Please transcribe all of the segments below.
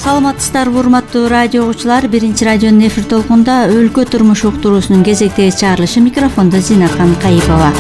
Саламатсыздарбы урматтуу радио угуучулар. Биринчи радионун эфир толкунда өлкө турмуш уктуруусунун кезектеги чыгарылышы. Микрофондо Зинакан Кайыпова.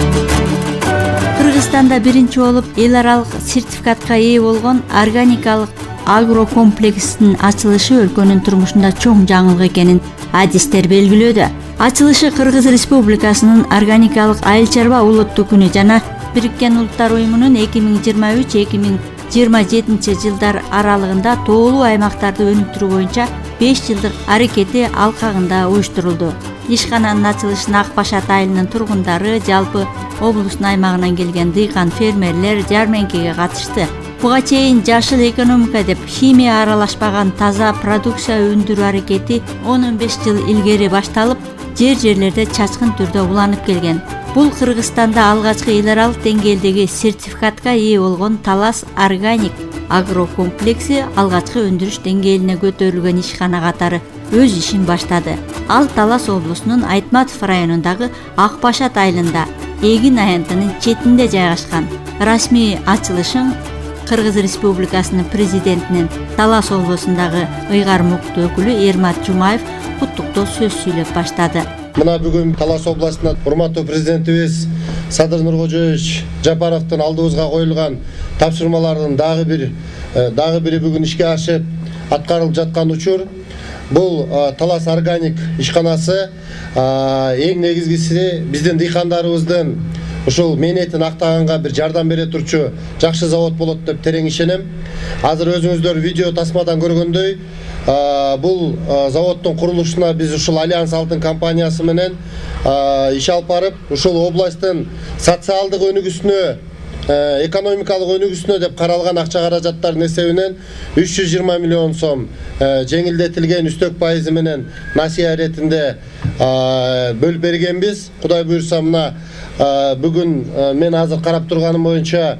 Кыргызстанда биринчи болуп эл аралык сертификатка ээ болгон органикалык агрокомплексинин ачылышы өлкөнүн турмушунда чоң жаңылык экенин адистер белгилөөдө. Ачылышы Кыргыз Республикасынын органикалык айыл чарба улуттук күнү жана Бириккен Улуттар уюмунун 2023-2027 жылдар аралыгында тоолуу аймактарды өнүктүрүү боюнча 5 жылдык аракети алкагында уюштурулду. Ишкананын ачылышына Ак Башат айылынын тургундары, жалпы облустун аймагынан келген дыйкан фермерлер жармеңкеге катышты. Буга чейин жашыл экономика деп химия аралашпаган таза продукция өндүрүү аракети 10-15 жыл илгери башталып, жерлерде чачкын түрдө уланып келген. Бул Кыргызстанда алгачкы эл аралык деңгээлдеги сертификатка ээ болгон Талас органик агрокомплекси алгачкы өндүрүш деңгээлине көтөрүлгөн ишкана катары өз ишин баштады. Ал Талас облусунун Айтматов районундагы Ак Башат айылында эгин аянтынын четинде жайгашкан. Расмий ачылышын Кыргыз Республикасынын президентинин Талас облусундагы ыйгар мукту өкүлү Эрмат Жумаев куттуктоо сөз сүйлөп баштады. Мына бүгүн Талас областына урматтуу президентибиз Садыр Нуркожоевич Жапаровдун алдыбызга коюлган тапшырмалардын дагы бири бүгүн ишке ашып аткарылып жаткан учур. Бул Талас органик ишканасы эң негизгиси биздин дыйкандарыбыздын ушул мээнетин актаганга бир жардам бере турчу жакшы завод болот деп терең ишенем. Азыр өзүңүздөр видео тасмадан көргөндөй, бул заводдун курулушуна биз ушул Альянс Алтын компаниясы менен иш алып барып, ушул областтын социалдык өнүгүүсүнө, экономикалык өнүгүүсүнө деп каралган акча каражаттардын эсебинен 320 миллион сом жеңилдетилген үстөк пайызы менен насыя иретинде бөлүп бергенбиз. Кудай буйрса, мына бүгүн мен азыр карап турганым боюнча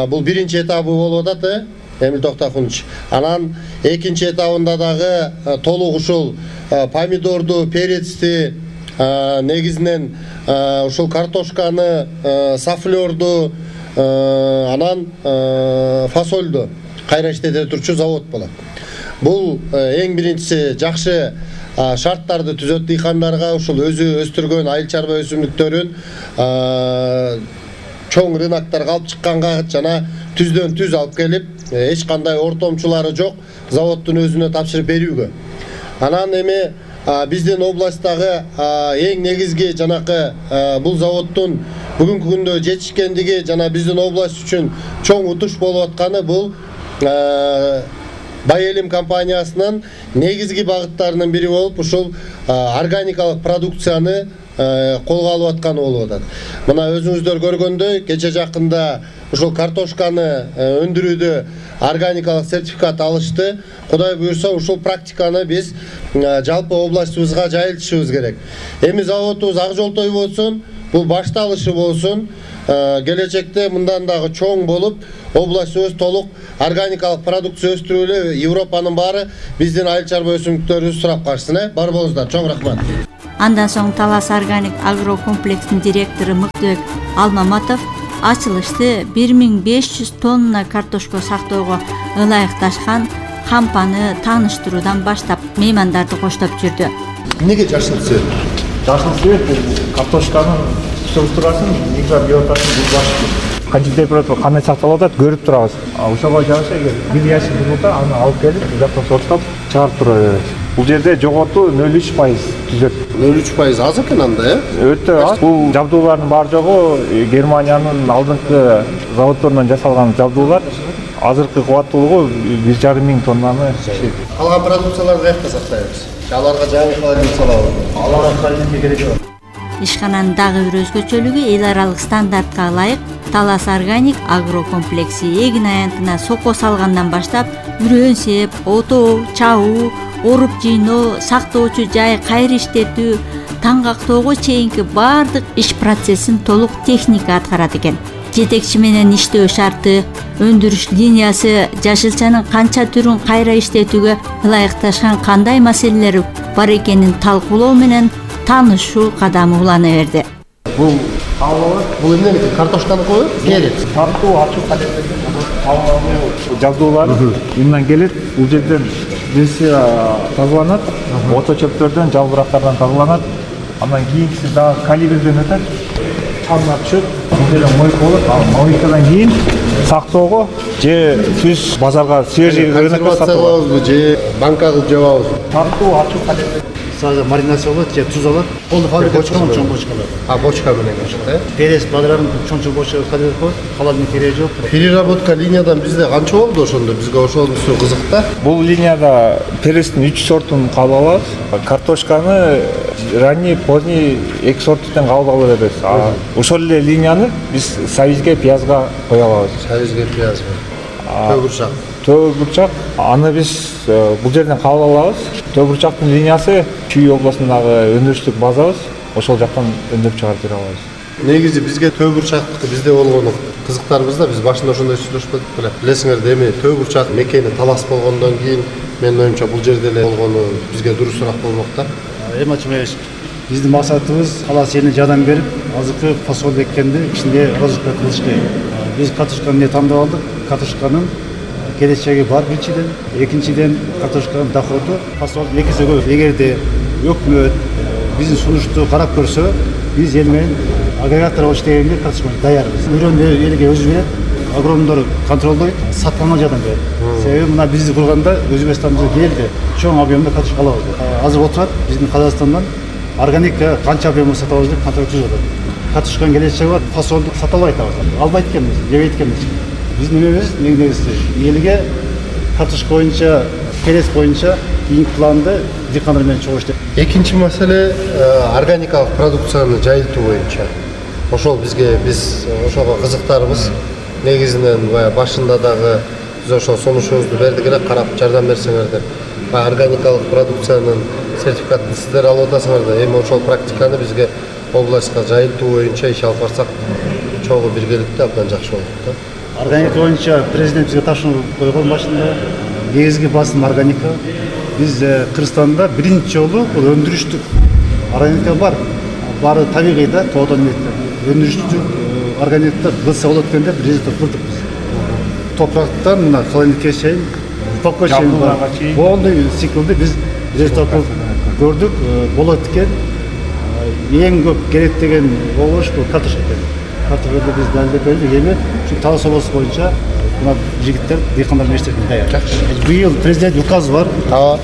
бул биринчи этабы болуп атат, Эмил Токтохунович. Анан экинчи этабында дагы толук ушул помидорду, перецти, негизинен ушул картошканы, сафлерду, анан фасолду кайра иштете турчу завод болот. Бул эң биринчиси жакшы шарттарды түзөт дыйкандарга, ушул өзү өстүргөн айыл чарба өсүмдүктөрүн чоң рыноктарга алып чыкканга жана түздөн түз алып келип, эч кандай ортомчулары жок заводдун өзүнө тапшырып берүүгө. Анан эми биздин областтагы эң негизги жанакы бул заводдун бүгүнкү күндө жетишкендиги жана биздин область үчүн чоң утуш болуп атканы бул Байэлим компаниясынын негизги багыттарынын бири болуп, ушул органикалык продукцияны колго алып атканы болуп атат. Мына өзүңүздөр көргөндөй, кече жакында ушул картошканы өндүрүүдө органикалык сертификат алышты. Кудай буйрса, ушул практиканы биз жалпы областыбызга жайылтышыбыз керек. Эми заводубуз ак жолтой болсун, бул башталышы болсун. Келечекте мындан дагы чоң болуп, областыбыз толук органикалык продукция өстүрүп эле Европанын баары биздин айыл чарба өсүмдүктөрүбүздү сурап калышсын. Бар болуңуздар, чоң рахмат. Андан соң Талас органик агрокомплексинин директору Мыктыбек Алмаматов ачылышты 1500 тонна картошка сактоого ылайыкташкан кампаны тааныштыруудан баштап меймандарды коштоп жүрдү. Эмнеге жашыл цвет? Жашыл цвет бул картошканын структурасын микро биотасын булбашты. Канча температура кандай сакталып атат көрүп турабыз. Ошого жараша эгер бир ящик болсо, аны алып келип, жактан сорттоп чыгарып тура берет. Бул жерде жоготу 0,3% түзөт. 0,3% аз экен анда, Өтө аз. Бул жабдуулардын баары жогу Германиянын алдыңкы заводдорунан жасалган жабдуулар. Азыркы кубаттуулугу 1,5 миң тоннаны ишет. Калган продукцияларды каякта сактайбыз? Аларга жаңы холодильник салабыз. Аларга холодильник керек жок. Ишкананын дагы бир өзгөчөлүгү эл аралык стандартка ылайык Талас органик агрокомплекси эгин аянтына соко салгандан баштап үрөөн сеп, отоо, чабуу, оруп жыйноо, сактоочу жай кайра иштетүү, таңгактоого чейинки баардык иш процессин толук техника аткарат экен. Жетекчи менен иштөө шарты, өндүрүш линиясы, жашылчанын канча түрүн кайра иштетүүгө ылайыкташкан кандай маселелер бар экенин талкуулоо менен таанышуу кадамы улана берди. Бул бул эмне картошканы коюп, перец. Тартуу ачуу кадеттерден жабдуулар мындан келет. Бул жерден бирisi тазаланат, ото чөптөрдөн, жалбырактардан тазаланат. Андан кийинкиси дагы калибрден өтөт. Чамына түшөт. Бул деле мойка болот. Ал мойкадан кийин сактоого же түз базарга свежий рынокко сатып алабызбы же банка кылып жабабызбы? Тартуу ачуу кадерде. Сразу маринация болот же туз алат. Колду фабрикада чоң бочкалар. Бочка менен кошот, Перес бадрарын чоң бочка кадер коет. Халалдын кереги жок. Переработка линиядан бизде канча болду ошондо? Бизге ошонусу кызык да. Бул линияда перестин 3 сортун кабыл алабыз. Картошканы ранний, поздний 2 сорттон кабыл алып беребиз. Ошол эле линияны биз сабизге, пиязга кое алабыз. Сабизге, пиязга. Төбүрчак. Төбүрчак. Аны биз бул жерден кабыл алабыз. Төбүрчактын линиясы Чүй областындагы өндүрүштүк базабыз. Ошол жактан өндүрүп чыгарып бере алабыз. Негизи бизге төбүрчактыкы бизде болгону кызыктарыбызда биз башында ошондой сүйлөшпөдүк беле. Билесиңер, эми төбүрчак мекени талас болгондон кийин менин оюмча бул жерде эле болгону бизге дурусураак болмок да. Эми ачымайбыз. Биздин максатыбыз халас элине жардам берип, азыркы фасол эккенди кичине развитие кылыш керек. Биз картошканы тандап алдык. Картошканын келечеги бар биринчиден, экинчиден картошканын доходу фасол экисе көп. Эгерде өкмөт биздин сунушту карап көрсө, биз эл менен агрегатор болуш дегенге картошканы даярбыз. Үйрөндү элге өзү берет, агрономдор контролдойт, сатканга жардам берет. Себеби мына бизди курганда Өзбекстандан келди, чоң объемда картошка алабыз. Азыр отурат биздин Казакстандан органика канча объемда сатып алабыз деп контроль түзүп атат. Картошканын келечеги бар, фасолду сата албайт атабыз. Албайт экенбиз, жебейт экенбиз. Биздин немебиз негизи элге картошка боюнча, перес боюнча кийинки планды дыйкандар менен чогулуш деп. Экинчи маселе органикалык продукцияны жайылтуу боюнча. Ошол бизге биз ошого кызыктарбыз. Негизинен башында дагы биз ошол сунушубузду бердик эле, карап жардам берсеңер деп. Органикалык продукциянын сертификатын сиздер алып атасыңар да, эми ошол практиканы бизге областка жайылтуу боюнча иш алып барсак чогуу биргеликте абдан жакшы болот да. Органика боюнча президент бизге тапшырма койгон башында негизги басым органика. Биз Кыргызстанда биринчи жолу бул өндүрүштүк органика бар. Баары табигый да, тоодон өндүрүштүк органикта кылса болот экен деп результат көрдүк биз. Топурактан мына холодильникке чейин, топко чейин полный циклды биз результат көрдүк. Болот экен. Эң көп керек деген болуш бул картошка экен. Картошканы биз далилдеп бердик. Эми ушу Талас областы боюнча мына жигиттер дыйкандар мектебинде даяр. Быйыл президент указы бар.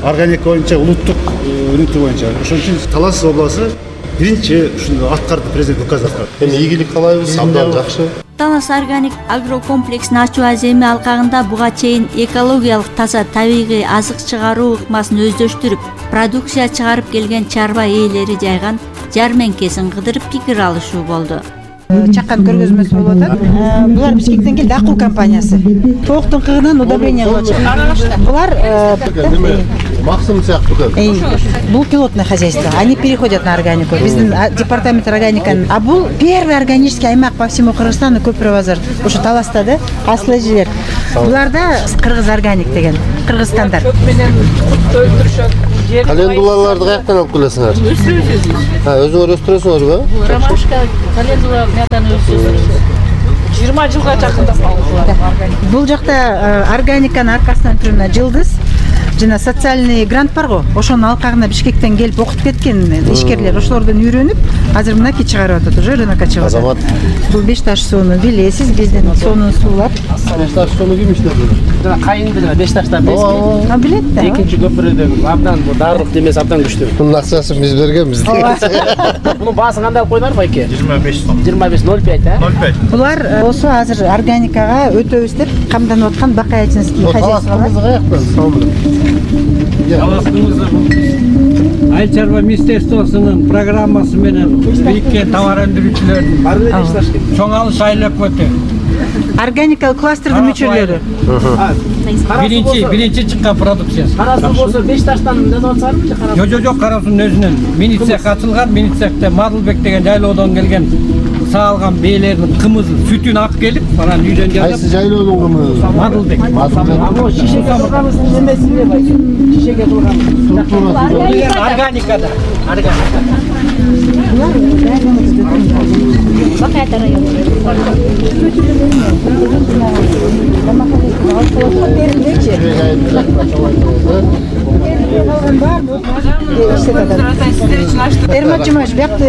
Органика боюнча улуттук өнүктүү боюнча. Ошон үчүн Талас областы биринчи ушуну аткарды, президент указ аткарды. Эми ийгилик каалайбыз, абдан жакшы. Талас органик агрокомплексин ачуу аземи алкагында буга чейин экологиялык таза табигый азык чыгаруу ыкмасын өздөштүрүп, продукция чыгарып келген чарба ээлери жайган жармеңкесин кыдырып пикир алышуу болду. Чакан көргөзмөсү болуп атат. Булар Бишкектен келди, Акул компаниясы. Тооктун кыгынан удобрение кылып атат. Булар максим сыяктуу экен. Бул пилотное хозяйство. Они переходят на органику. Биздин департамент органиканын. А бул первый органический аймак по всему Кыргызстану Көпүрө базар. Ушу Таласта да, асыл эжелер. Буларда Кыргыз органик деген, Кыргыз стандарт. Календулаларды каяктан алып келесиңер? Өзүңөр өстүрөсүңөрбү? Ромашка, календула мыяктан өстүрөбүз. 20 жылга жакында салып. Бул жакта органиканын аркасынан түрүнө жылдыз. Жана социальный грант барго, ошонун алкагына Бишкектен келип окутуп кеткен ишкерлер, ошолордон үйрөнүп, азыр мынакей чыгарып атат, уже рынокко чыгып атат. Азамат. Бул Бешташ сууну билесиз, биздин сонун суулар. Бешташ сууну ким иштеп жүрөт? Жана кайын деле Бешташтан А билет да. Экинчи көпүрөдөгү абдан бул дарылык демеси абдан күчтүү. Бунун акчасын биз бергенбиз. Мунун баасын кандай алып койдуңар байке? 25 сом. 25.05 а? 05. Булар болсо азыр органикага өтөбүз деп камданып аткан Бакаячинский хозяйстволор. Айыл чарба министерствосунун программасы менен бириккен товар өндүрүүчүлөрдүн чоң алыш айлап өтө. Органикалык кластердин мүчөлөрү. Биринчи чыккан продукциясы. Карасуу болсо Бешташтан жазып атсаңарбы же карасуу? Жок, Карасуунун өзүнөн мини цех ачылган, мини цехте Мадылбек деген жайлоодон келген саалган бээлердин кымызы, сүтүн алып келип, анан үйдөн жасап. Кайсы жайлоодун кымызы? Мадылбек. Ал шишеге кылганыбыздын немесине байке. Шишеге кылганыбыз. Органикада. Бакаята району. Эрмат Жумаш, бияқта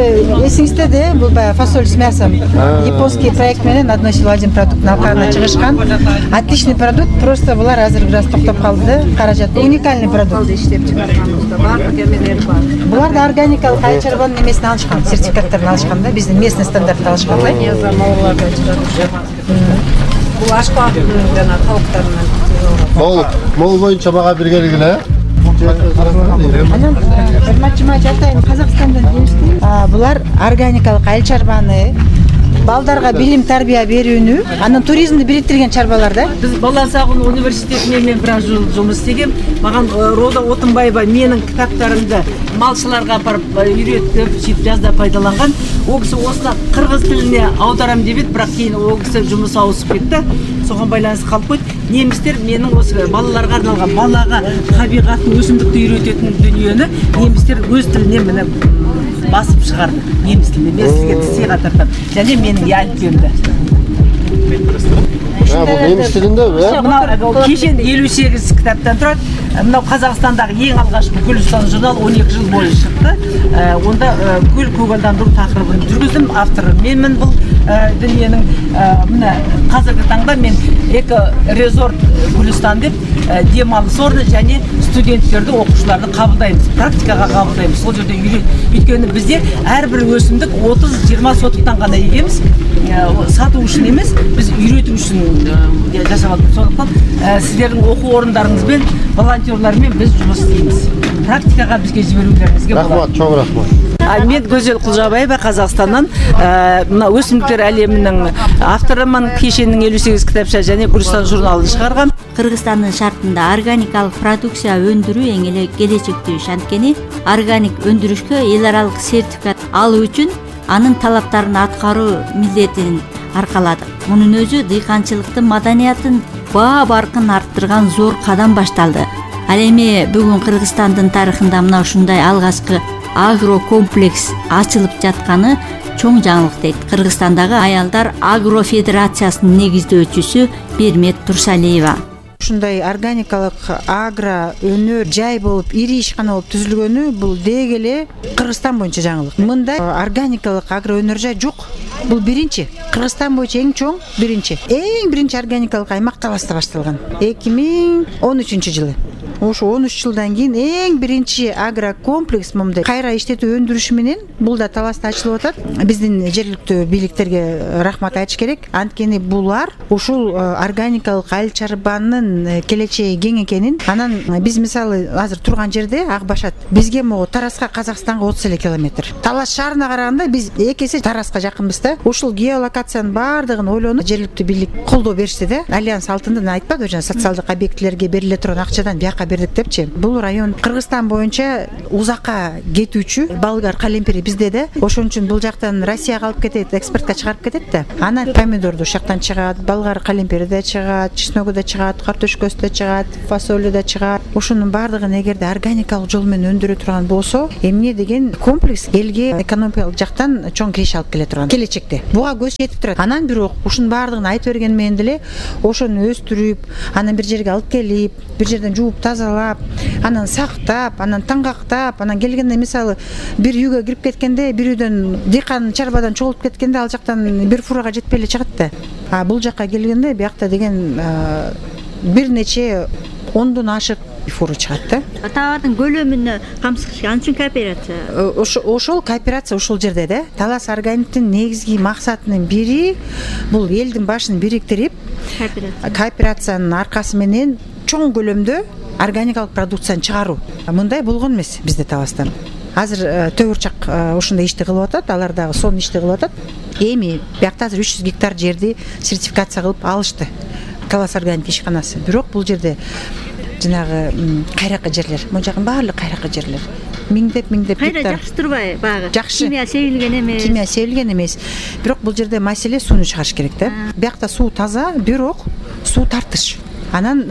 эсиңизде де бул баягы фасоль с мясом японский проект менен одной силу один продукт алкагына чыгышкан. Отличный продукт, просто булар азыр бир аз токтоп калды да. Каражат уникальный продукт. Иштеп чыгарганбызда баардык эмелери бар. Булар да органикалык айыл чарбанын эмесин алышкан, сертификаттарын алышкан да, биздин местный стандартты алышкан. Бул ашкабадын жана талыктарынан. Мол боюнча мага бир келгиле. Анан Эрматчыма айтайын, Казакстандан келишти. Булар органикалык айыл чарбаны балдарга билим тарбия берүүнү, анан туризмди бириктирген чарбалар да. Биз Бала Сагын университетинде мен бир жумуш истегем. Маган Роза Отунбаева менин китаптарымды малчыларга барып үйрөтүп, сөйтүп жазда пайдаланган. Ол киши осуна кыргыз тилине аударам дебет, бирок кийин ол киши жумуш ауысып кетти. Согон байланыштуу калып койду. Немистер менин осы балаларга арналган балага табигатты, өсүмдүктү үйрөтөтүн дүнүйөнү немистер өз тилине мына басып чыгарды. Немис тилинде мен сизге сыйга тартам. Және менин алфавитимде. Бул немис тилиндеби? Мына кешен 58 китаптан турат. Мына Казакстандагы эң алгачкы Гүлстан журнал 12 жыл бою чыкты. Онда гүл көгалдандыруу такырыбын жүргүздүм. Автору менмин бул дүниенин. Мына азыркы таңда мен эко резорт Гүлстан деп дем алыш орны және студенттерди, окуучуларды кабылдайбыз, практикага кабылдайбыз. Сол жерде өйткөнү бизде ар бир өсүмдүк 30-20 сотуктан гана эгемиз. Сатуу үчүн эмес, биз үйрөтүү үчүн жашап атабыз. Сондуктан сиздердин окуу орундарыңызбен, волонтерлармен биз жумуш истейбиз. Практикага бизге жиберүүлөрүңүзгө болот. Рахмат, чоң рахмат. Мен Гөзел Кулжабаева, Казакстандан мына өсүмдүктөр әлеминин авторумун. Кешенин 58 китапча және Гүлстан журналын чыгарган. Кыргызстандын шартында органикалык продукция өндүрүү эң эле келечектүү иш. Анткени органик өндүрүшкө эл аралык сертификат алуу үчүн анын талаптарын аткаруу милдетин аркаладык. Мунун өзү дыйканчылыктын маданиятын баа баркын арттырган зор кадам башталды. Ал эми бүгүн Кыргызстандын тарыхында мына ушундай алгачкы агрокомплекс ачылып жатканы чоң жаңылык дейт Кыргызстандагы аялдар агро федерациясынын негиздөөчүсү Бермет Турсалиева. Ушундай органикалык агро өнөр жай болуп, ири ишкана болуп түзүлгөнү бул деги эле Кыргызстан боюнча жаңылык. Мындай органикалык агро өнөр жай жок. Бул биринчи. Кыргызстан боюнча эң чоң биринчи. Эң биринчи органикалык аймак Таласта башталган. 2013 жылы. Ошо 13 жылдан кийин эң биринчи агрокомплекс мындай кайра иштетүү өндүрүшү менен бул да Таласта ачылып атат. Биздин жергиликтүү бийликтерге рахмат айтыш керек. Анткени булар ушул органикалык айыл чарбанын келечеги кең экенин, анан биз мисалы азыр турган жерде Акбашат бизге могу Тараска, Казакстанга 30 эле километр. Талас шаарына караганда биз эки эсе Тараска жакынбыз да. Ушул геолокациянын баардыгын ойлонуп жергиликтүү бийлик колдоо беришти да. Альянс алтындан айтпады, жана социалдык объектилерге бериле турган акчадан бияка бердик депчи. Бул район Кыргызстан боюнча узакка кетүүчү болгар калемпири бизде да. Ошон үчүн бул жактан Россияга алып кетет, экспортко чыгарып кетет да. Анан помидорду ушул жактан чыгат, болгар калемпири да чыгат, чесногу да чыгат, картошкасы да чыгат, фасолу да чыгат. Ошонун баардыгын эгерде органикалык жол менен өндүрө турган болсо, эмне деген комплекс элге экономикалык жактан чоң киреше алып келе турган келечекте. Буга көз жетип турат. Анан бирок ушунун баардыгын айтып берген менен деле ошону өстүрүп, анан бир жерге алып келип, бир жерден жууп тазалап, анан сактап, анан таңгактап, анан келгенде мисалы бир үйгө кирип кеткенде, бир үйдөн дыйкан чарбадан чогулуп кеткенде ал жактан бир фурага жетпей эле чыгат да. Бул жакка келгенде биякта деген бир нече 10дон ашык фура чыгат да. Товардын көлөмүнө камсыз анчын кооперация. Ошол кооперация ушул жерде да. Талас органиктин негизги максатынын бири бул элдин башын бириктирип, кооперациянын аркасы менен чоң көлөмдө органикалык продукцияны чыгаруу. Мындай болгон эмес бизде Таласта. Азыр Төгүрчак ушундай ишти кылып атат, алар дагы сонун ишти кылып атат. Эми биякта азыр 300 гектар жерди сертификация кылып алышты. Талас органик ишканасы. Бирок бул жерде жанагы кайракы жерлер, могу жагын баардык кайракы жерлер. Миңдеп гектар. Кайра жакшы турбай багы. Жакшы. Кимия себилген эмес. Кимия себилген эмес. Бирок бул жерде маселе сууну чыгарыш керек да. Биякта суу таза, бирок суу тартыш. Анан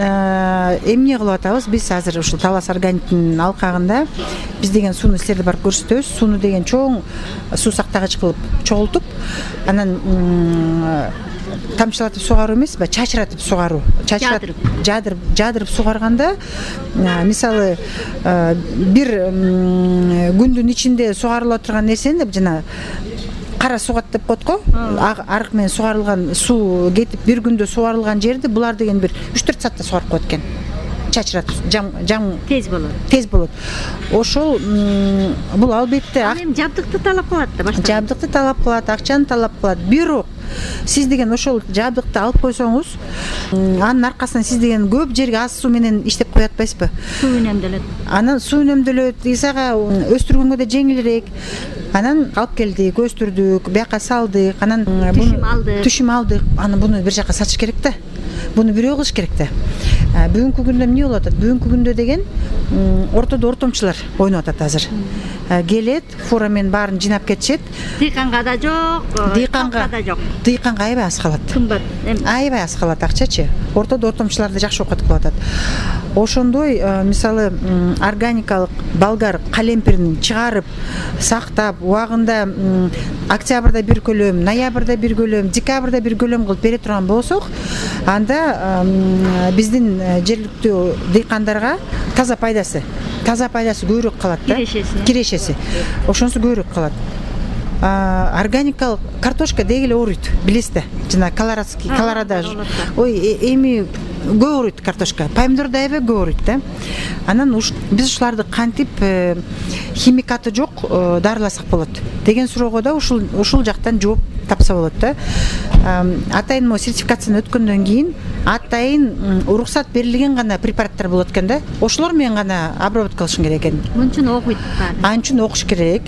эмне кылып атабыз? Биз азыр ушул Талас органиктин алкагында биз деген сууну силерде барып көрсөтөбүз. Сууну деген чоң суу сактагыч кылып чогултуп, анан тамчылатып сугаруу эмес, чачыратып сугаруу. Жадырып сугарганда, мисалы, бир күндүн ичинде сугарыла турган нерсени жана кара сугат деп коет го. Арык менен сугарылган суу кетип бир күндө сугарылган жерди булар деген бир 3-4 саатта сугарып коет экен. Чачыратып жам тез болот. Ошол бул албетте жабдыкты талап кылат да башта. Жабдыкты талап кылат, акчаны талап кылат. Бирок сиз деген ошол жабдыкты алып койсоңуз, анын аркасынан сиз деген көп жерге аз суу менен иштеп кое атпайсызбы? Суу үнөмдөлөт. Анан суу үнөмдөлөт, исага өстүргөнгө да жеңилирээк. Анан алып келдик, өстүрдүк, бияка салдык, анан түшүм алдык. Анан буну бир жака сатыш керек да. Буну бирөө кылыш керек да. Бүгүнкү күндө эмне болуп атат? Бүгүнкү күндө деген ортодо ортомчулар ойноп атат азыр. Келет, фура менен баарын жыйнап кетишет. Дыйканга да жок, дыйканга да жок. Дыйканга аябай аз калат. Кымбат. Аябай аз калат акчачы. Ортодо ортомчуларды жакшы окуп кылып атат. Ошондой, мисалы, органикалык болгар калемпирин чыгарып, сактап, убагында октябрда бир көлөм, ноябрда бир көлөм, декабрда бир көлөм кылып бере турган болсок, анда биздин жергиликтүү дыйкандарга таза пайдасы көбүрөөк калат да. Кирешеси. Ошонусу көбүрөөк калат. Органикалык картошка дегеле ооруйт, билесиз да. Жана колорадо. Ой, эми көп ооруйт картошка. Помидор да аябай көп ооруйт да. Анан биз ушуларды кантип химикаты жок дарыласак болот деген суроого да ушул жактан жооп тапса болот да. Атайын могу сертификацияны өткөндөн кийин атайын уруксат берилген гана препараттар болот экен да. Ошолор менен гана обработка кылышың керек экен. Мунчун окуйт. Анчын окуш керек.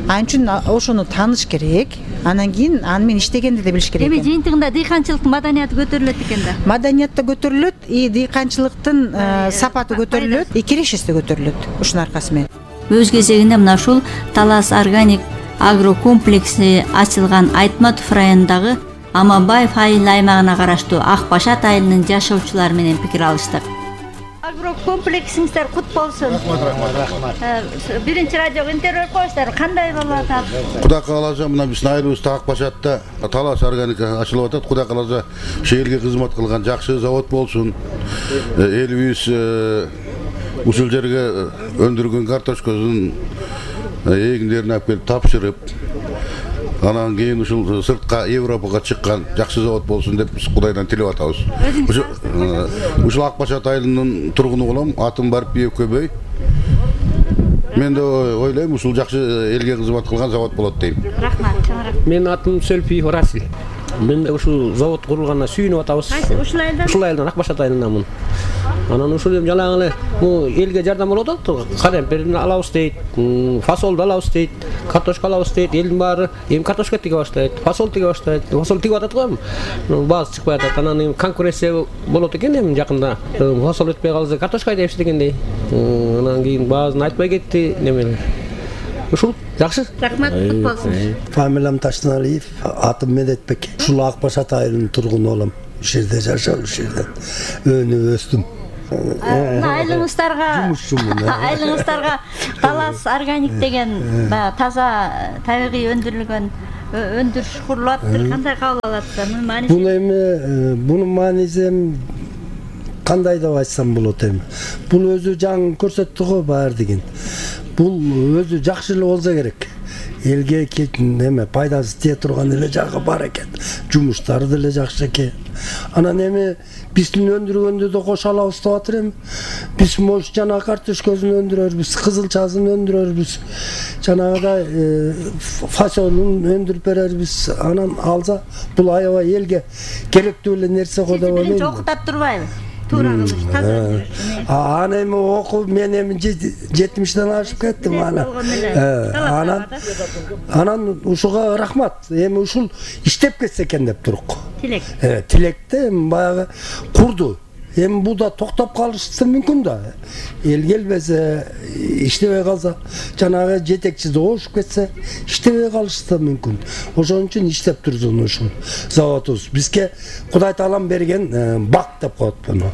Анчын ошону тааныш керек. Анан кийин аны менен иштегенди да билиш керек. Эми жыйынтыгында дыйканчылыктын маданияты көтөрүлөт экен да. Маданият да көтөрүлөт, дыйканчылыктын сапаты көтөрүлөт, кирешеси да көтөрүлөт ушунун аркасы менен. Өз кезегинде мына ушул Талас органик агрокомплекси ачылган Айтматов районундагы Аманбаев айыл аймагына караштуу Ак Башат айылынын жашоочулары менен пикир алыштык. Агрокомплексиңиздер кут болсун. Рахмат. Биринчи радиого интервью коюңуздар. Кандай болуп атат? Кудай кааласа, мына биздин айылыбызда Ак Башатта Талас органик ачылып атат. Кудай кааласа, шээрге кызмат кылган жакшы завод болсун. Элибиз ушул жерге өндүргөн картошкасын эгиндерин алып келип тапшырып, анан кийин ушул сыртка Европага чыккан жакшы завод болсун деп биз Кудайдан тилеп атабыз. Ушул Ак Башат айылынын тургуну болом, атым Барпиев Көбөй. Мен да ойлойм, ушул жакшы элге кызмат кылган завод болот дейм. Рахмат. Менин атым Сөлпиев Расил. Мен ушул завод курулганына сүйүнүп атабыз. Ушул айылдан? Ушул айылдан, Ак Башат айылынанмын. Анан ушул эми жалаң эле элге жардам болуп атат. Калемпирин алабыз дейт, фасолду алабыз дейт, картошка алабыз дейт. Элдин баары эми картошка тиге баштайт, фасол тиге баштайт. Фасол тигип атат го эми. Баасы чыкпай атат. Анан эми конкуренция болот экен эми жакында. Фасол өтпөй калса картошка айдайбыз дегендей. Анан кийин баазын айтпай кетти немелер. Ушул жакшы. Рахмат, кут болсун. Фамилиям Таштыналиев, атым Медетбек. Ушул Ак Башат айылынын тургуну болом. Ушул жерде жашап, ушул жерден өнүп өстүм. Айылыңыздарга Талас органик деген таза табигый өндүрүлгөн өндүрүш курулуп атыптыр. Кандай кабыл аласыздар? Мунун мааниси? Бунун мааниси кандай деп айтсам болот эми. Бул өзү жаңы көрсөттү го баары деген. Бул өзү жакшы эле болсо керек. Элге эме пайдасы тие турган эле жагы бар экен. Жумуштары деле жакшы экен. Анан эми биздин өндүргөндү да кошо алабыз деп атыр эми. Биз мош жана картошкасын өндүрөрбүз, кызылчасын өндүрөрбүз. Жанагыдай фасолун өндүрүп берербиз. Анан алса бул аябай элге керектүү эле нерсе го деп ойлойм. Биринчи окутат турбайбы? Туура кылыш, таза өндүрүш. Аны эми окуп мен эми 70ден ашып кеттим анан ушуга рахмат. Эми ушул иштеп кетсе экен деп турук. Тилек. Тилекте баягы курду. Эми бул да токтоп калышы мүмкүн да. Эл келбесе, иштебей калса, жанагы жетекчи ошуп кетсе, иштебей калышы да мүмкүн. Ошон үчүн иштеп турсун ушул заводубуз. Бизге Кудай таалам берген бак деп коет буну.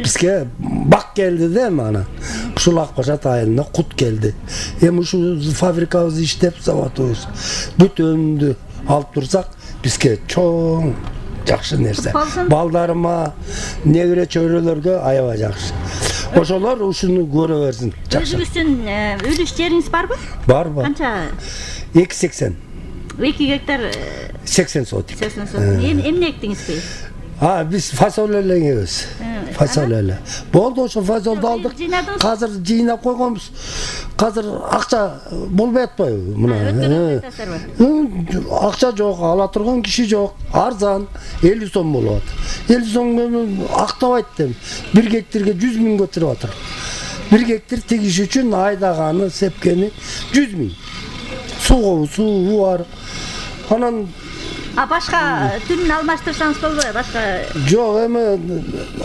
Бизге бак келди да эми ушул Ак Башат айылына кут келди. Эми ушул фабрикабыз иштеп, заводубуз бүт өнүмдү алып турсак, бизге чоң жакшы нерсе. Балдарыма, небере чөйрөлөргө аябай жакшы. Ошолор ушуну көрө берсин. Өзүңүздүн үлүш жериңиз барбы? Бар. Канча? 280. 2 гектар 80 сотик. 80 сотик. Эмне эктиңизби? Биз фасоль элеңебиз. Фасоль эле. Болду, ошо фасолду алдык. Азыр жыйнап койгонбуз. Азыр акча болбой атпайбы? Мына. Акча жок, ала турган киши жок. Арзан 50 сом болот. 50 сом актабайт деп. 1 гектарга 100 миң көтөрүп атыр. 1 гектар тегиш үчүн айдаганы, сепкени 100 миң. Суу бар. Анан башка түрүн алмаштырсаңыз болбойбу? Башка жок, эми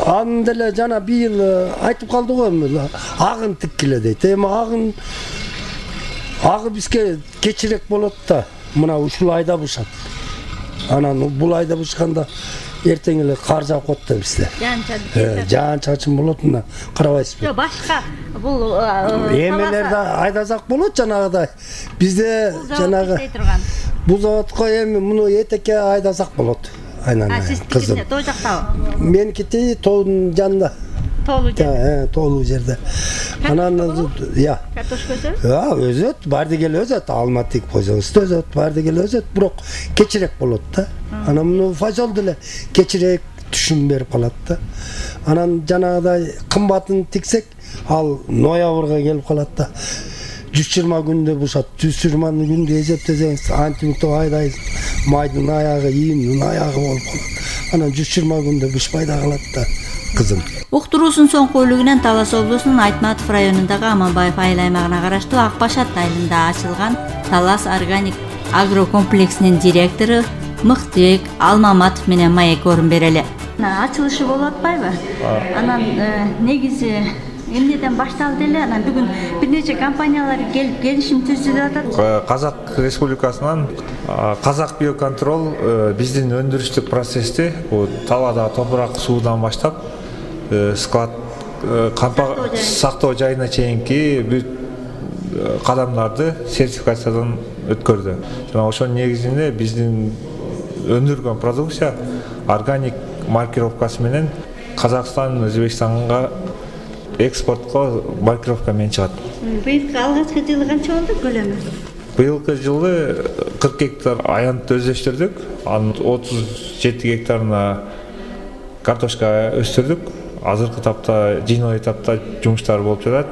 аны деле жана быйыл айтып калды го, эми агын тиккиле дейт. Эми агы бизге кечирээк болот да. Мына ушул айда бушат. Анан бул айда бушканда эртең эле кар жаап коет да бизде. Жаан чачын болот, мына карабайсызбы? Жок, башка бул эмелерди айдасак болот жанагыдай. Бизде жанагы бул заводко эми муну этекке айдасак болот. Айнан. Кызым. Тоо жактабы? Меникити тоонун жанында. Тоолуу жерде. Анан картошка өсөбү? Өзөт, барды келе өзөт. Алматык койсоңуз өзөт, барды келе өзөт, бирок кечирээк болот да. Анан муну фасол деле кечирээк түшүм берип калат да. Анан жанагыдай кымбатын тиксек, ал ноябрга келип калат да. 120 күндө бушат. 120 күндө эсептесеңиз, антимикто айдай майдын аягы, ийимдин аягы болуп калат. Анан 120 күндө бышпай да калат да. Кызым. Уктуруусун соңку бөлүгүнөн Талас облусунун Айтматов районундагы Аманбаев айыл аймагына караштуу Ак Башат айылында ачылган Талас органик агрокомплексинин директору Мыктыбек Алмаматов менен маек орун берели. Ачылышы болуп атпайбы? Анан негизи эмнеден башталды эле? Анан бүгүн бир нече компаниялар келип келишим түздү деп атат. Казак Республикасынан Казак биоконтрол биздин өндүрүштүк процессти талаадагы топурак суудан баштап склад сактоо жайына чейинки бүт кадамдарды сертификациядан өткөрдү. Жана ошонун негизинде биздин өндүргөн продукция органик маркировкасы менен Казакстан, Өзбекстанга экспортко маркировка менен чыгат. Быйылкы алгачкы жылы канча болду көлөмү? Быйылкы жылы 40 гектар аянтты өздөштүрдүк. Анын 37 гектарына картошка өстүрдүк. Азыркы тапта, жыйноо этапта жумуштар болуп жатат.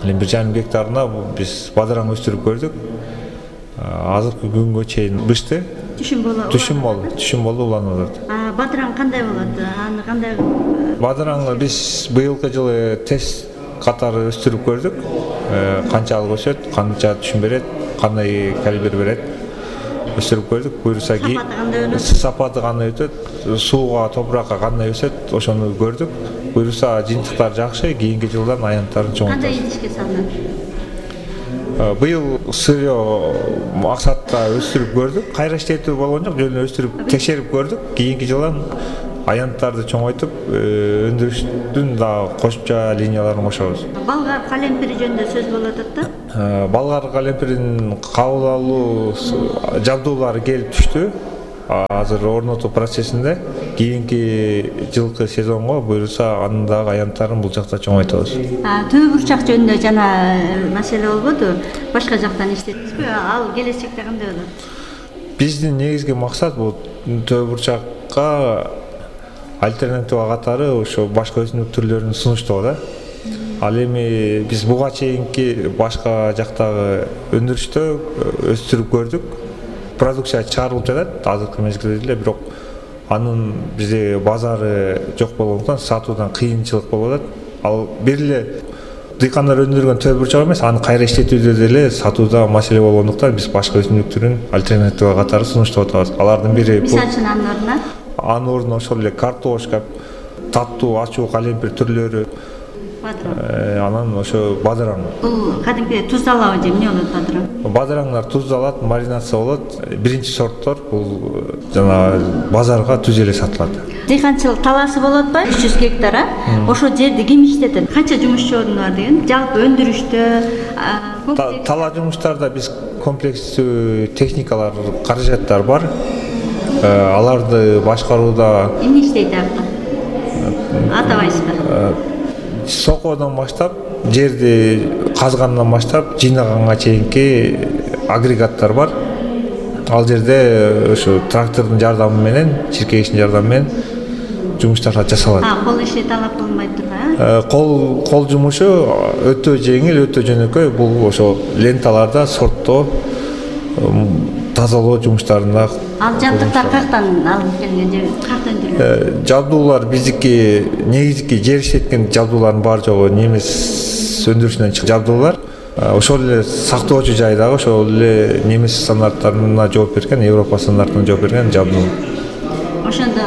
1,5 гектарына биз бадыраң өстүрүп көрдүк. Азыркы күнгө чейин бышты. Түшүм болду, уланып атат. Бадыраң кандай болот? Аны кандай? Бадыраңды биз быйылкы жылы тест катары өстүрүп көрдүк. Канчалык өсөт, канча түшүм берет, кандай калибр берет. Өстүрүп көрдүк. Буюрса сапаты кандай өтөт, сууга, топуракка кандай өсөт, ошону көрдүк. Буюрса жыйынтыктар жакшы, кийинки жылдан аянттарын чоңойтабыз. Кандай идишке салынат? Быйыл сырьё максатта өстүрүп көрдүк. Кайра иштетүү болгон жок, жөн өстүрүп текшерип көрдүк. Кийинки жылдан аянттарды чоңойтуп, өндүрүштүн да кошумча линияларын кошобуз. Болгар калемпири жөнүндө сөз болуп атат да? Болгар калемпирин кабыл алуу жабдуулары келип түштү. Азыр орнотуу процессинде. Кийинки жылкы сезонго буюрса анын дагы аянттарын бул жакта чоңойтобуз. Төө бурчак жөнүндө жана маселе болбоду? Башка жактан иштеттизби? Ал келечекте кандай болот? Биздин негизги максат бул төө бурчакка альтернатива катары ошо башка өсүмдүк түрлөрүн сунуштоо да. Ал эми биз буга чейинки башка жактагы өндүрүштө өстүрүп көрдүк. Продукция чыгарылып жатат азыркы мезгилде деле, бирок анын бизде базары жок болгондуктан сатуудан кыйынчылык болуп атат. Ал бир эле дыйкандар өндүргөн төө бурчак эмес, аны кайра иштетүүдө деле сатууда маселе болгондуктан биз башка өсүмдүк түрүн альтернатива катары сунуштап атабыз. Алардын бири мисалы үчүн анын ордуна анын ордуна ошол эле картошка, таттуу, ачуу калемпир түрлөрү, Анан ошо бадыраң. Бул кадимки туздалабы же эмне болот бадыраң? Бадыраңдар туздалат, маринация болот. Биринчи сорттор бул жана базарга түз эле сатылат. Дыйканчылык талаасы болот ба? 300 гектар, ошол жерди ким иштетет? Канча жумушчу бар деген? Жалпы өндүрүштө тала жумуштарда биз комплекстүү техникалар, каражаттар бар. Аларды башкарууда эмне иштейт акта? Атабайсызбы? Сокодон баштап, жерди казгандан баштап, жыйнаганга чейинки агрегаттар бар. Ал жерде ошо трактордун жардамы менен, чиркегичтин жардамы менен жумуштар жасалат. Кол иши талап кылынбай турбайбы? Кол жумушу өтө жеңил, өтө жөнөкөй. Бул ошо ленталарда сорттоо, тазалоо жумуштарында. Ал жабдыктар каяктан алынып келген же каяктан өндүрүлгөн? Жабдуулар биздики негизги жер иштеткен жабдуулардын баары жогу немис өндүрүшүнөн чыккан жабдуулар. Ошол эле сактоочу жайдагы ошол эле немис стандарттарына жооп берген, Европа стандартына жооп берген жабдуу. Ошондо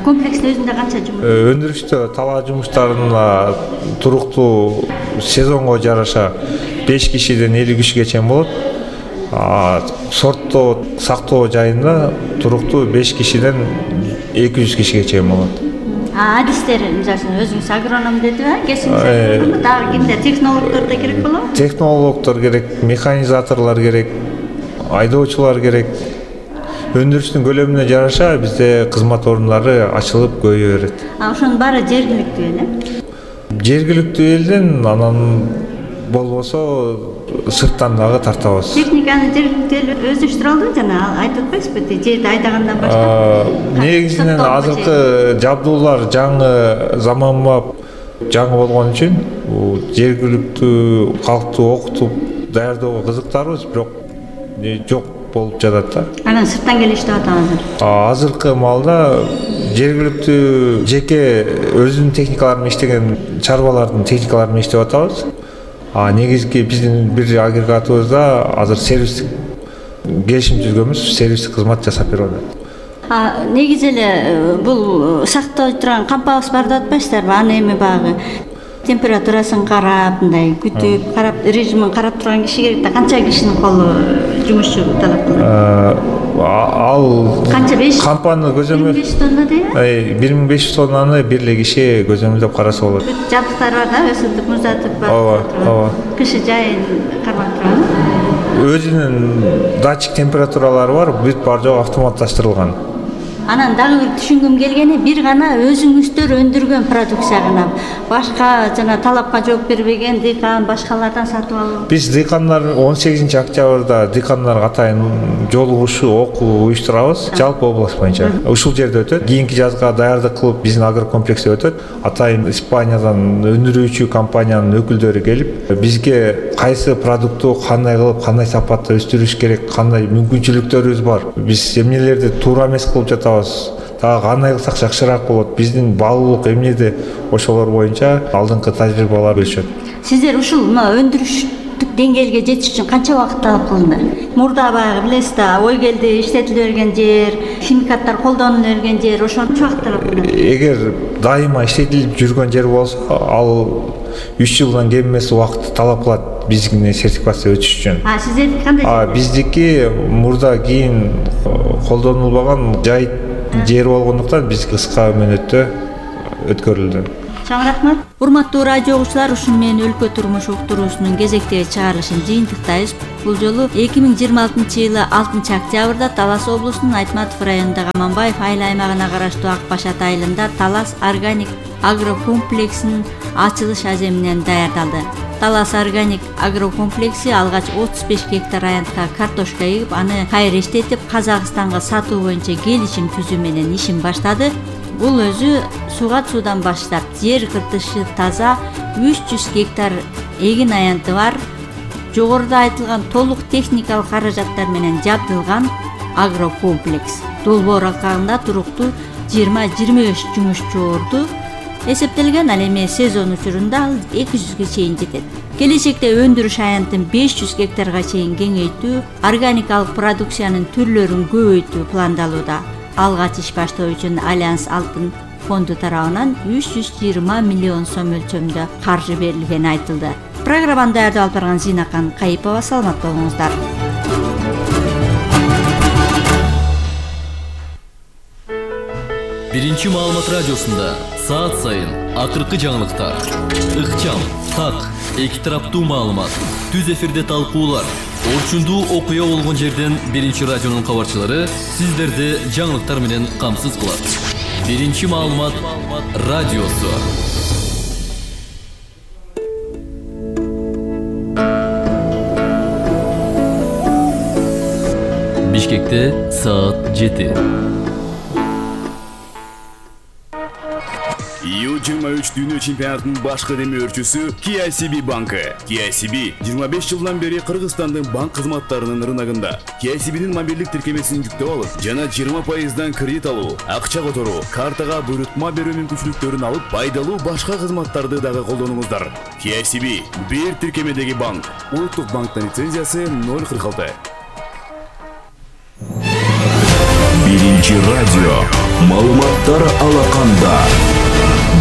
комплекстин өзүндө канча жумуш? Өндүрүштө тала жумуштарына туруктуу сезонго жараша 5 кишиден 50 кишиге чейин болот. Сорттоо сактоо жайында туруктуу 5 кишиден 200 кишиге чейин болот. Адистер, мисалы өзүңүз агроном дедиби, кесиңиз дагы кимдер, технологдор да керек болобу? Технологдор керек, механизаторлор керек, айдоочулар керек. Өндүрүштүн көлөмүнө жараша бизде кызмат орундары ачылып көбөйө берет. Ошонун баары жергиликтүү эле? Жергиликтүү элден, анан болбосо сырттан дагы тартабыз. Техниканы жергиликтүү эл өздөштүрө алды жана айтып атпайсызбы, жерди айдагандан баштап? Негизинен азыркы жабдуулар жаңы заманбап жаңы болгон үчүн жергиликтүү калкты окутуп даярдоого кызыктарбыз, бирок жок болуп жатат да. Анан сырттан келип иштеп атабыз. Азыркы маалда жергиликтүү жеке өзүнүн техникалары менен иштеген чарбалардын техникалары менен иштеп атабыз. Негизги биздин бир агрегатыбызда азыр сервистик келишим түзгөнбүз, сервистик кызмат жасап берип атат. Негизи эле бул сактап турган кампабыз бар деп атпайсыздарбы? Аны эми багы температурасын карап, мындай күтүп, карап, режимин карап турган киши керек да. Канча кишинин колу жумушчу талап кылат? Ал кампаны көзөмөл 1500 тонна дейби? 1500 тоннаны бир эле киши көзөмөлдөп караса болот. Жабдыктар бар да, өсүтүп, муздатып бар. Ооба. Кышы жайын кармап турган. Өзүнүн датчик температуралары бар, бүт баары жогу автоматташтырылган. Анан дагы бир түшүнгүм келгени, бир гана өзүңүздөр өндүргөн продукция гана. Башка жана талапка жооп бербеген дыйкан башкалардан сатып алуу. Биз дыйкандар 18-октябрда дыйкандарга атайын жолугушуу, окуу уюштурабыз. Жалпы область боюнча. Ушул жерде өтөт. Кийинки жазга даярдык кылып биздин агрокомплексте өтөт. Атайын Испаниядан өндүрүүчү компаниянын өкүлдөрү келип, бизге кайсы продукту кандай кылып, кандай сапатта өстүрүш керек, кандай мүмкүнчүлүктөрүбүз бар. Биз эмнелерди туура эмес кылып жатабыз. Дагы кандай кылсак жакшыраак болот, биздин баалуулук эмнеде, ошолор боюнча алдыңкы тажрыйбалар бөлүшөт. Сиздер ушул өндүрүштүк деңгээлге жетиш үчүн канча убакыт талап кылынды? Мурда баягы билесиз да, ой келди, иштетиле берген жер, химикаттар колдонула берген жер, ошончо убакыт талап кылынат. Эгер дайыма иштетилип жүргөн жер болсо, ал 3 жылдан кем эмес убакыт талап кылат биздин сертификация өтүш үчүн. Сиздердики кандай? Биздики мурда кийин колдонулбаган жай жер болгондуктан биз кыска мөөнөттө өткөрүлдү. Чоң рахмат. Урматтуу радио угуучулар, ушуну менен өлкө турмуш уктуруусунун кезектеги чыгарылышын жыйынтыктайбыз. Бул жолу 2026-жылы 6-октябрда Талас облусунун Айтматов районундагы Аманбаев айыл аймагына караштуу Ак Башат айылында Талас органик агрокомплексинин ачылыш аземинен даярдалды. Талас органик агрокомплекси алгач 35 гектар аянтка картошка эгип, аны кайра иштетип, Казакстанга сатуу боюнча келишим түзүү менен ишин баштады. Бул өзү суудан баштап, жер кыртышы таза 300 гектар эгин аянты бар, жогоруда айтылган толук техникалык каражаттар менен жабдылган агрокомплекс. Долбоор алкагында туруктуу 20-25 жумушчу орду эсептелген. Ал эми сезон учурунда ал 200ге чейин жетет. Келечекте өндүрүш аянтын 500 гектарга чейин кеңейтүү, органикалык продукциянын түрлөрүн көбөйтүү пландалууда. Алгач иш баштоо үчүн Альянс Алтын фонду тарабынан 320 миллион сом өлчөмүндө каржы берилгени айтылды. Программаны даярдап алып барган Зинакан Кайыпова. Саламат болуңуздар. Биринчи маалымат радиосунда саат сайын акыркы жаңылыктар, ыкчам, так, эки тараптуу маалымат, түз эфирде талкуулар, орчундуу окуя болгон жерден Биринчи радионун кабарчылары сиздерди жаңылыктар менен камсыз кылат. Биринчи маалымат радиосу. Бишкекте саат 7. U23 дүйнө чемпионатынын башкы демөөрчүсү KCB банкы. KCB 25 жылдан бери Кыргызстандын банк кызматтарынын рыногунда. KCB'нин мобилдик тиркемесин жүктөп алып, жана 20% кредит алуу, акча которуу, картага буйрутма берүү мүмкүнчүлүктөрүн алып, пайдалуу башка кызматтарды дагы колдонуңуздар. KCB бир тиркемедеги банк. Улуттук банктын лицензиясы 046. Биринчи радио. Маалыматтар алаканда.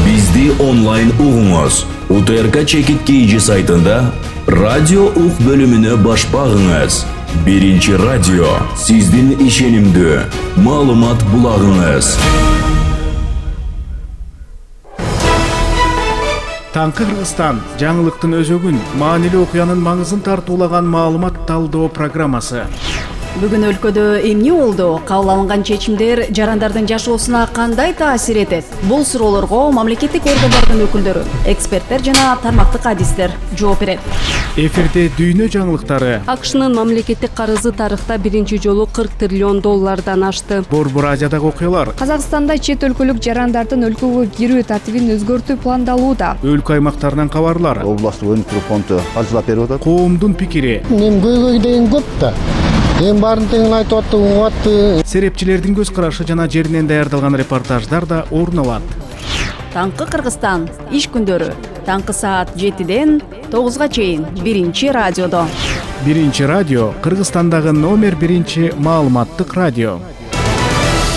Бизди онлайн угуңуз. УТРК Чекит KG сайтында радио ук бөлүмүнө баш багыңыз. Биринчи радио сиздин ишенимдүү маалымат булагыңыз. Таңкы Кыргызстан жаңылыктын өзөгүн, маанилүү окуянын маңызын тартуулаган маалымат талдоо программасы. Бүгүн өлкөдө эмне болду? Кабыл алынган чечимдер жарандардын жашоосуна кандай таасир этет? Бул суроолорго мамлекеттик органдардын өкүлдөрү, эксперттер жана тармактык адистер жооп берет. Эфирде дүйнө жаңылыктары. АКШнын мамлекеттик карызы тарыхта биринчи жолу 40 триллион доллардан ашты. Борбор Азиядагы окуялар. Казакстанда чет өлкөлүк жарандардын өлкөгө кирүү тартибин өзгөртүү пландалууда. Өлкө аймактарынан кабарлар. Областтык өнүктүрүү фонду каржылап берип атат. Коомдун пикири. Мен көйгөй деген көп да. Эң баарын тең айтып атты, угатты. Серепчилердин көз карашы жана жеринен даярдалган репортаждар да орун алат. Таңкы Кыргызстан иш күндөрү таңкы саат 7-ден 9-га чейин Биринчи радиодо. Биринчи радио Кыргызстандагы номер 1 маалыматтык радио.